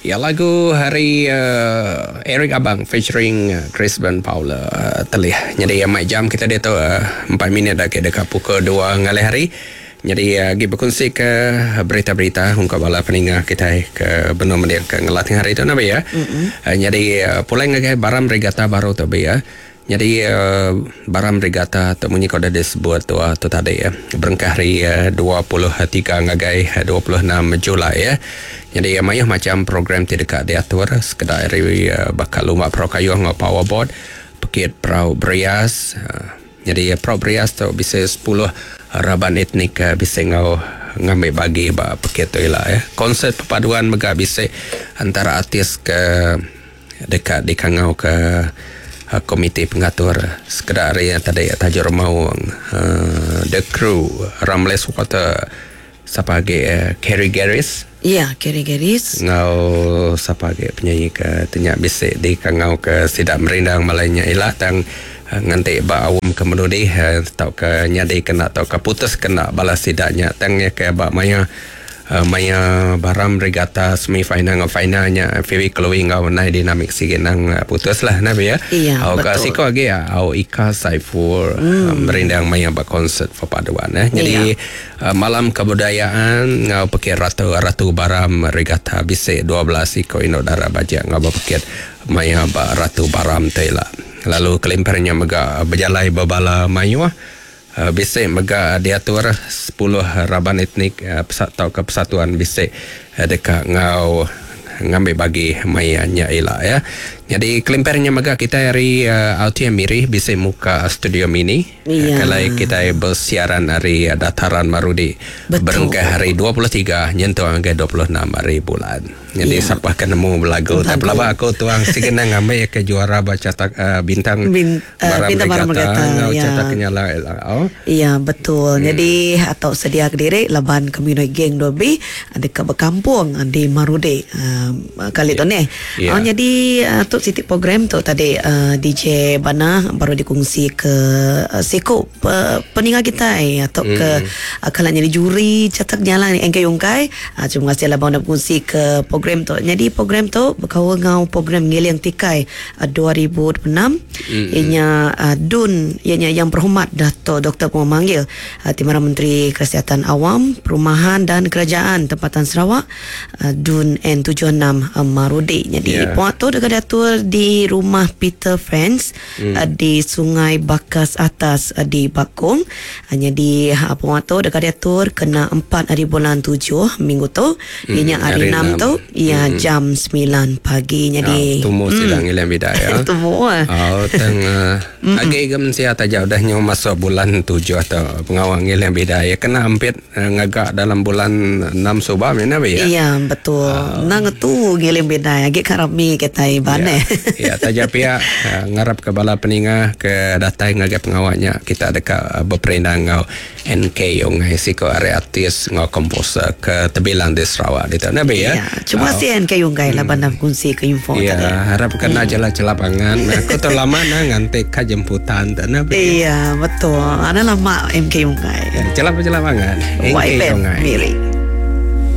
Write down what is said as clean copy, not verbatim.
Ya lagu hari uh, Eric Abang featuring uh, Chris Ben Paula uh, telih. Jadi uh, jam kita ditu uh, 4 minit dah ke dekat pukul 2 ngalih hari. Jadi uh, agi berkongsi ke berita-berita ungkap bala peninga kita ke benua mendiang ke ngelatih hari tu nabi ya. Mm-hmm. Uh, jadi uh, pulai ngagai Baram Regatta baru tu bi ya. Nyadi Baram Regatta tu munyi ke udah disebut tu tu tadi berengkah hari 23 ngagai 26 Julai ya. Nyadi mayuh macham program ti deka diatur sekeda ari baka lumba perau kayuh enggau powerboat, pekit perau berias. Nyadi perau berias tu bisi sepuluh raban etnik bisi enggau ngambi bagi ba pekit tu ila ya. Konsert perpaduan mega bisi antara artis ke Deka dikangauka komiti pengatur sekeda ari iya tadi Taju Remaung, The Crew, Ramles Water, sapa agi Kerry Garis. Iya, Kerry Garis. Enggau sapa agi penyanyi ke ti nya bisi dikangauka sida merindang malai nya ila tang nganti ba aum ke menudi tauka nyadi kena tauka putus kena bala sida nya tang iya ke ba maya Maya Baram Regatta semi final enggau final nya Phoebe Chloe enggau Nai Dinamik sigi endang putus lah nah pia. Iya, Au ka betul. siko agi au Ika Saiful mm. merindang maya ba konsert perpaduan eh. Jadi Iya. malam kebudayaan enggau pekit Ratu Ratu Baram Regatta bisi 12 iko indu dara bajik enggau bepekit maya ba Ratu Baram tu ila. Lalu kelimpah nya mega bejalai bebala mayuh Bisi mega diatur sepuluh raban etnik tauka persatuan bisi deka enggau ngambi bagi maya nya ila ya. Nyadi kelimpah nya mega kitai ari RTM Miri bisi muka studio mini Iya. kelai kitai bersiaran ari Dataran Marudi Betul. berengkah hari 23 nyentuk ngagai 26 hari bulan. Nyadi Iya. sapa ke nemu belagu Belagu. tak pelaba aku tuang sigi nang ngambi ke juara ba catak uh, bintang Bin, uh, Baram bintang Baram Regatta Regatta, enggau ya. catak kenyala ila. Oh. Iya betul. Jadi atau sedia kediri laban kami noi geng dobi deka bekampung di Marudi uh, kali tu ni. Ya. Oh, jadi uh, tu siti program tu tadi uh, DJ Bana baru dikongsi ke uh, siku pe, peninga kita atau ke uh, kalau jadi juri catak nyala ni engkai yungkai. Ah, terima kasih lah udah berkongsi ke program tu. Jadi program tu berkaul dengan program Ngiling Tikai uh, 2026. Mm-hmm. Ianya uh, DUN, ianya yang berhormat Dato' Dr. Pemanggil uh, Timbalan Menteri Kesihatan Awam, Perumahan dan Kerajaan Tempatan Sarawak uh, DUN N76 uh, Marudi. Jadi Yeah. yeah. puak tu dekat diatur di rumah Peter Friends mm. uh, di Sungai Bakas Atas uh, di Bakong. Uh, jadi uh, puak tu dekat diatur kena 4 hari bulan 7 minggu tu. Ianya hari hari 6 enam. tu ia jam 9 pagi. Jadi Ah, tumu sidang ilang bida ya. Tumu ah. Oh, teng uh, agi ke mensia taja udah nyu masuk bulan 7 atau pengawang ngilang bida ya kena ampit uh, ngagak dalam bulan 6 subah mana be ya. Iya betul. Nang tu ngiling bidai agi karami kita iban eh. Ya, taja pihak uh, ngarap ke bala peninga ke datai ngagai pengawaknya kita deka uh, berperindang ngau NK Yongai siko ari artis ngau komposer ke terbilang di Sarawak di tu nabi ya. Ya, cuma si NK Yunggai laban dah kongsi ke info Ya, tadi. harap kena jelah-jelah pangan. Aku tu lama na nganti ka jemputan tu nabi. Iya, betul. Ada lama MK Yunggai. Ya, celap-celap pangan. NK YFM Yongai. Miri.